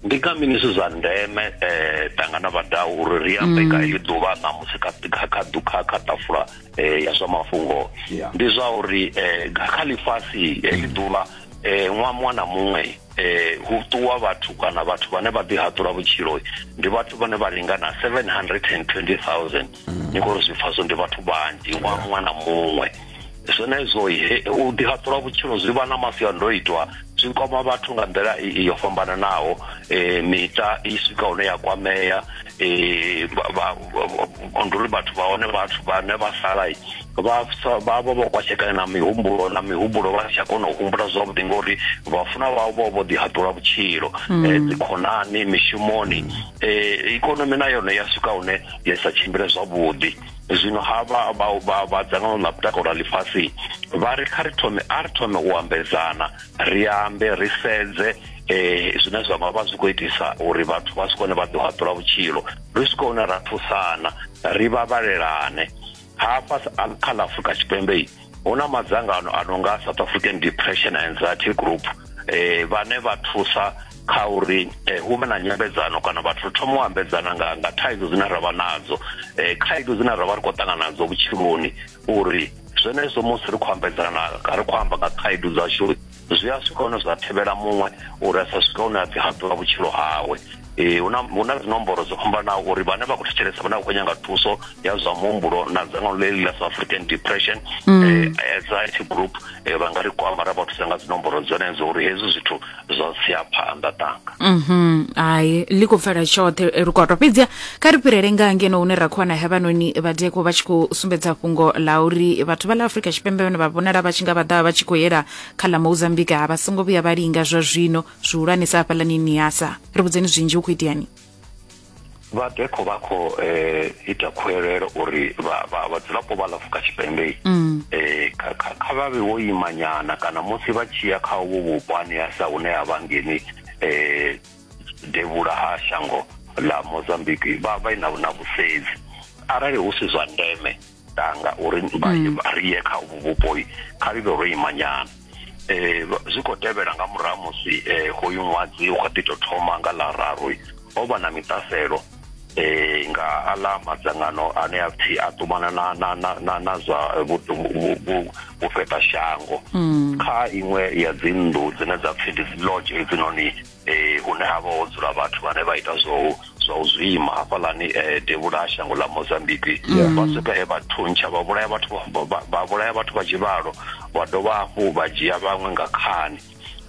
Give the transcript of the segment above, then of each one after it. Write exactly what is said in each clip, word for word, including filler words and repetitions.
Ndi nga mini zwi zwa ndeme eh tangana vhadau uri ri ambe nga heḽi ḓuvha ṋamusi kha kha kha kha kha ṱafula eh ya zwa mafhungo? Yeah. Ndi zwa uri eh kha ḽifhasi heḽi ḓuvha eh ṅwaha muṅwe na muṅwe eh hu ṱuwa vhathu kana vhathu vhane vha ḓi haṱula vhutshilo ndi vhathu vhane vha lingana seven hundred and twenty thousand. Ni khou ri zwi pfa zwo ndi vhathu vhanzhi ṅwaha muṅwe na muṅwe. Zwenezwo he u ḓi haṱula vhutshilo zwi vha na masiandoitwa, zwi kwama vhathu nga nḓila i yo fhambananaho. eh miṱa i swika hune ya kwamea, eh ndi uri vhathu vha hone, vhathu vhane vha sala vha vha vha vho kwashekana na mihumbulo na mihumbulo vha si tsha kona u humbula zwavhuḓi ngori vhafuna vhavho vho vho ḓi haṱula vhutshilo, eh dzikhonani, mishumoni, eh ikonomi na yone ya swika hune ya sa tshimbile zwavhuḓi. Zwino havha vha vha vha dzangano ḽa mutakalo ḽa ḽifhasi vha ri kha ri thome a ri thome u ambedzana, ri ambe, ri sedze eh zwine zwa nga vha zwi khou itisa uri vhathu vha si kone vha ḓo haṱula vhutshilo, ri swike hune ra thusana, ri vhavhalelane. Hafha kha ḽa Afrika Tshipembe hu na madzangano a no nga South African Depression and Anxiety Group, eh vhane vha thusa kha uri eh, hu vhe na nyambedzano kana vhathu ri thoma u ambedzana nga nga thaidzo dzine ra vha nadzo, eh khaedu dzine ra vha ri khou ṱangana nadzo vhutshiloni, uri zwenezwo musi ri khou ambedzana, ri khou amba nga khaedu dzashu, zwi a swika hune zwa thivhela muṅwe uri a sa swika hune a ḓi haṱula vhutshilo hawe. Eh huna huna dzinomboro dzo fhambanaho uri vhane vha khou thetshelesa, vhane vha khou nyanga thuso ya zwa muhumbulo na dzangano ḽeḽi ḽa South African Depression eh Anxiety Group, eh vha nga ri kwama ra vha thusa nga dzinomboro dzenedzo uri hezwi zwithu zwa sia phanḓa tanga. Mhm, hai, ḽi khou pfala tshoṱhe Lukoto. Fhedziha kha ri fhirele nga ngeno hune ra khou wana hevhanoni vhadeko vha tshi khou sumbedza fhungo ḽa uri vhathu vha ḽa Afrika Tshipembe vhane vha vhonala vha tshi nga vha ḓa vha tshi khou yela kha ḽa Mozambique vha songo vhuya vha linga zwa zwino, zwihulwanesa hafhaḽani Niassa. Ri vhudzeni zwinzhi, hu khou iteani? Vhadekho vha khou eh ita khuwelelo uri vha vha vhadzulapo vha ḽa Afrika Tshipembe eh kha kha vha vhe vho imanyana kana musi vha tshi ya kha uvho vhupo ha Niassa hune ha vha ngeni eh devhula ha shango ḽa Mozambique, vha vha na na vhusedzi arali hu si zwa ndeme tanga uri vha ri ye kha uvho vhupo, kha ri vhe ro imanyana. Eh zwi khou tevhela nga murahu musi eh hoyu ṅwadzi u kha ḓi tou thoma nga ḽa raru ho vha na miṱaselo eh nga aḽa madzangano ane a pfi a ṱumana na na na na, na zwa vhufheta shango kha iṅwe ya dzinnḓu dzine dza pfi ndi dzi lodge hedzinoni, eh hune ha vha ho dzula vhathu vhane vha ita zwo zwa u zwima hafhaḽani eh devhula ha shango ḽa Mozambique. Vha swika he vha thuntsha, vha vhulaya vhathu, vha vhulaya vhathu vha tshivhalo, vha dovha hafhu vha dzhia vhaṅwe nga khani,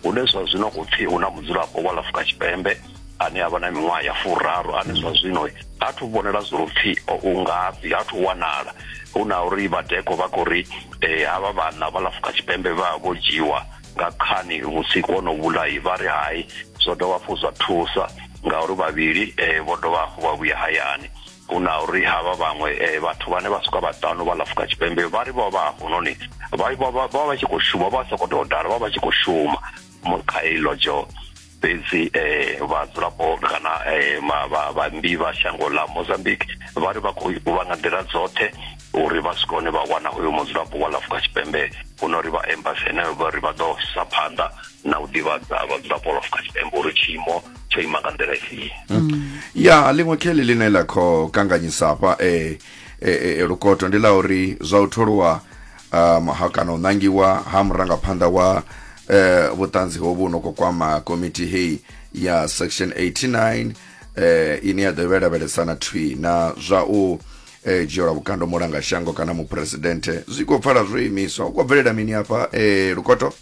hune zwa zwino khou pfi hu na mudzulapo wa ḽa Afrika Tshipembe ane a vha na miṅwaha ya furaru ane zwa zwino ha thu vhonela zwo pfi u ngafhi, ha thu wanala. Hu na uri vhadeko vha khou ri eh havha vhana vha ḽa Afrika Tshipembe vha vho dzhiwa nga khani vhusiku hono vhulai, vha ri hai, zwo dovha hafhu zwa thusa ngauri vhavhili eh vho dovha hafhu vha vhuya hayani. Hu na uri havha vhaṅwe eh vhathu vhane vha swika vhaṱanu vha ḽa Afrika Tshipembe vha ri vho vha hafhunoni vha vha vha vha tshi khou shuma, vha sa khou tou dala, vha vha tshi khou shuma kha heyi lodzho. Fhedzi eh vhadzulapo kana eh vhaimbi vha shango ḽa Mozambique vha ri vha khou vha nga nḓila dzoṱhe uri vha swike hune vha wana hoyo mudzulapo wa ḽa Afrika Tshipembe, hu no ri vha embassy heneyo vha ri vha ḓo isa phanḓa na u ḓivhadza vhadzulapo vha Afrika Tshipembe uri tshiimo tsho ima nga nḓila ifhio. Ya ḽiṅwe kheḽi ḽine ḽa khou kanganyisa hafha eh, eh, Lukoto ndi ḽa uri zwa u tholiwa um, ha kana u ṋangiwa ha murangaphanḓa wa eh, vhuṱanzi hovhu no khou kwama komiti heyi ya section eighty-nine eh, ine ya ḓo lavhelesana thwi na zwa u eh, dzhielwa vhukando mulanga shango kana muphuresidenthe, zwi khou pfala zwo imiswa. Hu khou bvelela mini hafha eh, Lukoto?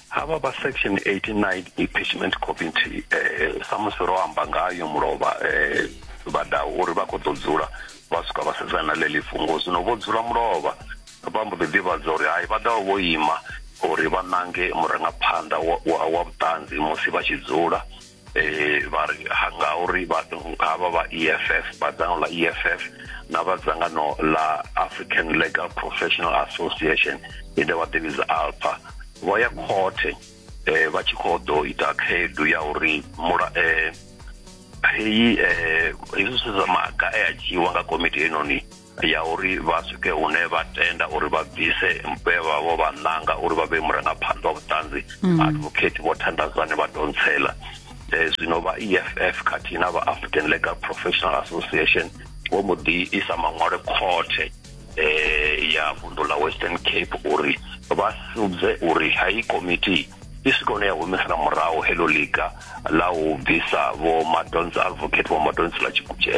Havha vha section eighty-nine impeachment committee, eh samusi ro amba ngayo mulovha eh vhadau uri vha khou ḓo dzula vha swika vha sedzana na ḽeḽi fhungo. Zwino vho dzula mulovha vha mbo ḓi ḓivhadza uri hai, vha ḓovha vho ima uri vha ṋange murangaphanḓa wa, wa, wa vhuṱanzi musi vha tshi dzula. eh vha ri ngauri havha vha E F F, vha dzangano ḽa E F F na vha dzangano ḽa African Legal Professional Association ine vha ḓivhidza ALPA, vho ya khothe eh vha tshi khou ḓo ita khaedu ya uri mula eh heyi eh hezwi zwithu zwa maga e a dzhiiwa nga komiti heinoni ya uri vha swike hune vha tenda uri vha bvise vhe vha vho vha ṋanga uri vha vhe murangaphanḓa wa vhuṱanzi, advocate Vho Thandazani vha Dontsela. Eh, zwino vha E F F khathihi na vha African Legal Professional Association vho mbo ḓi isa maṅwalo khothe eh ya vunḓu ḽa Western Cape uri vha sudze uri hayi komiti i swike hune ya humisela murahu heḽo ḽiga ḽa u bvisa vho Madonsi advocate vho Madonsi ḽa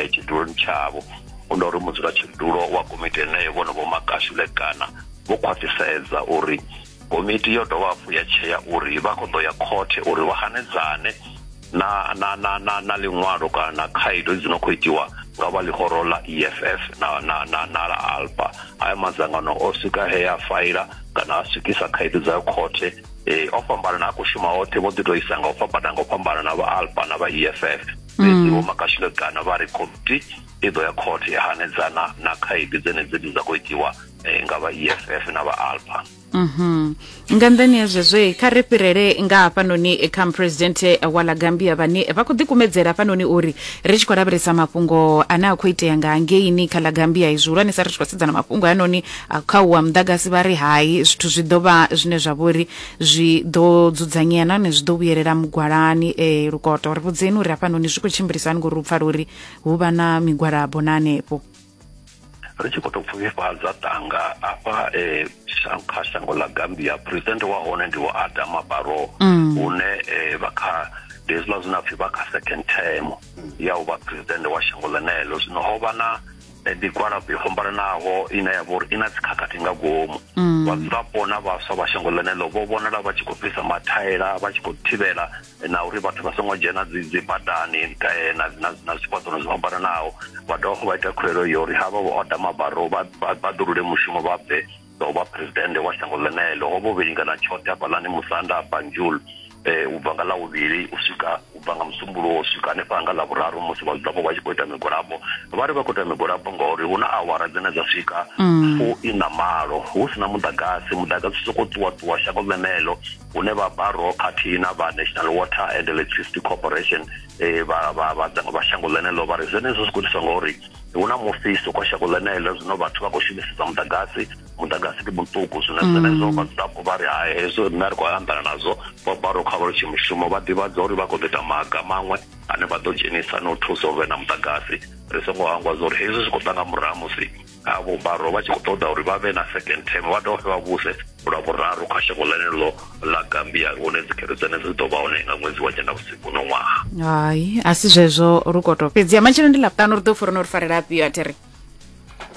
tshiduloni tshavho. Ndo uri mudzulatshidulo wa komiti yeneyo vhone vho Makashule Gana vho khwaṱhisedza uri komiti yo dovha hafhu ya tshea uri vha khou ḓo ya khothe uri vha hanedzane na na na na na ḽiṅwalo kana na khaedu dzi no khou itiwa nga vha ḽihoro ḽa E F F na na na na ḽa Alpa. Haya madzangano o swika he a faila kana a swikisa khaedu dza khothe eh o fhambana na a khou shuma oṱhe, vho ḓi tou isa nga u fhambana nga u fhambana na vha Alpa na vha E F F. Fhedzi vho Makashule Gana vha ri komiti i ḓo ya khothe ya hanedzana na khaedu dzenedzi dzi dza khou itiwa nga vha E F F na vha Alpa. Mhm. Nga nḓani ya zwezwo kha ri fhirele nga hafhanoni kha muphuresidennde wa ḽa Gambia vhane vha khou ḓikumedzela hafhanoni uri ri tshi khou lavhelesa mafhungo ane a khou itea nga hangeini kha ḽa Gambia, zwihulwanesa ri tshi khou sedzana mafhungo hanoni kha u wa muḓagasi, vha ri hai zwithu zwi ḓo vha zwine zwa vhori zwi ḓo dzudzanyea nahone zwi ḓo vhuyelela mugwalani. Eh, Lukoto, ri vhudzeni uri hafhanoni zwi khou tshimbilisa hani ngori u pfala uri hu vha na migwalabo na hanefho. Ri tshi khou tou pfufhifhadza tanga afha eh, kha shango ḽa Gambia, president wa hone ndi Vho Adama Barrow, hune eh, vha kha ndi hezwiḽa zwine pfhi vha kha second term ya u vha president wa shango ḽeneḽo. Zwino ho vha na migwalabo yo fhambananaho ine ya vha uri i na dzikhakhathi nga ngomu. Vhadzulapo na vhaswa vha shango ḽeneḽo vho vhonala vha tshi khou fhisa mathaela, vha tshi khou thivhela na uri vhathu vha songo dzhena dzi dzi badani na na na zwifhaṱo zwo fhambananaho. Vha dovha vha ita khuwelelo ya uri havha Vho Adama Barrow vha vha ḓulule mushumo vha bve u vha president wa shango ḽeneḽo. Ho vho vhilingana tshoṱhe hafhaḽani Musanda Banjul eh u bva nga ḽa vhuvhili u swika u bva nga Musumbuluwo u swika hanefha nga ḽa vhuraru musi vhadzulapo vha tshi khou ita migwalabo. Vha ri vha khou ita migwalabo ngauri hu na awara dzine dza swika fu ina malo hu sina muḓagasi, muḓagasi u sokou ṱuwa ṱuwa shango ḽeneḽo, hune vha Barrow khathihi na vha National Water and Electricity Corporation eh vha vha vha vha shango ḽeneḽo vha ri zwenezwo zwi khou itiswa ngauri hu na mufhiso kwa shango ḽeneḽo, zwino vhathu vha khou shumisesa muḓagasi, muḓagasi ndi muṱuku. Zwino zwenezwo vhadzulapo vha ri hai, hezwo riṋe ri khou anḓana nazwo. Vho Barrow kha vha litshe mushumo, vha ḓivhadza uri vha khou ḓo ita maga maṅwe ane vha ḓo dzhenisa na u thusa uri vhe na muḓagasi. Ri songo hangwa zwa uri hezwi zwi khou ḓa nga murahu musi avho Barrow vha tshi khou ṱoḓa uri vha vhe na second term, vha dovhe vha vhuse lwa vhuraru kha shango ḽeneḽo ḽa Gambia, hune dzikhetho dzenedzo dzi ḓo vha hone nga ṅwedzi wa Nyendavhusiku uno ṅwaha. Hai, a si zwezwo Lukoto. Fhedzi matshelo ndi Ḽavhuṱanu, ri ḓo furana uri farela afhio a thiri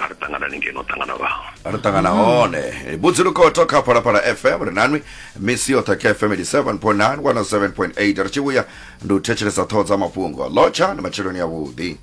a ri ṱangana ngeno ṱangana vha ri ṱangana hone. Vhudzi Lukoto kha Phalaphala F M, ri nanwi misi yoṱhe kha F M eighty-seven point nine, one oh seven point eight. Ri tshi vhuya ndi u thetshelesa ṱhoho dza mafhungo. Lotsha ndi matsheloni avhuḓi.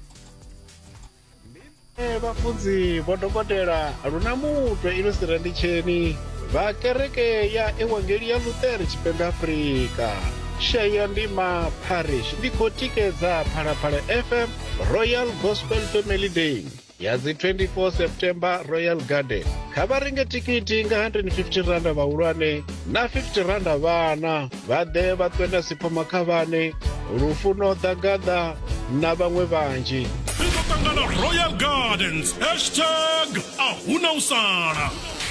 Vhafunzi vho dokotela luna mutwe ino siranditsheni vha kereke ya Evangeli ya Luṱere Tshipembe Afrika Shaya Ndima Parish ndi khou tikedza Phalaphala F M Royal Gospel Family Day ya dzi twenty-four September Royal Garden. Kha vha renge tikiti nga one hundred fifty randa vhahulwane na fifty randa vhana, vha ḓe vha ṱwe na Sipho Makhavhane, Lufuno Ḓagaḓa na vhaṅwe vhanzhi. Ri ḓo ṱangana Royal Gardens, hashtag a huna u sala.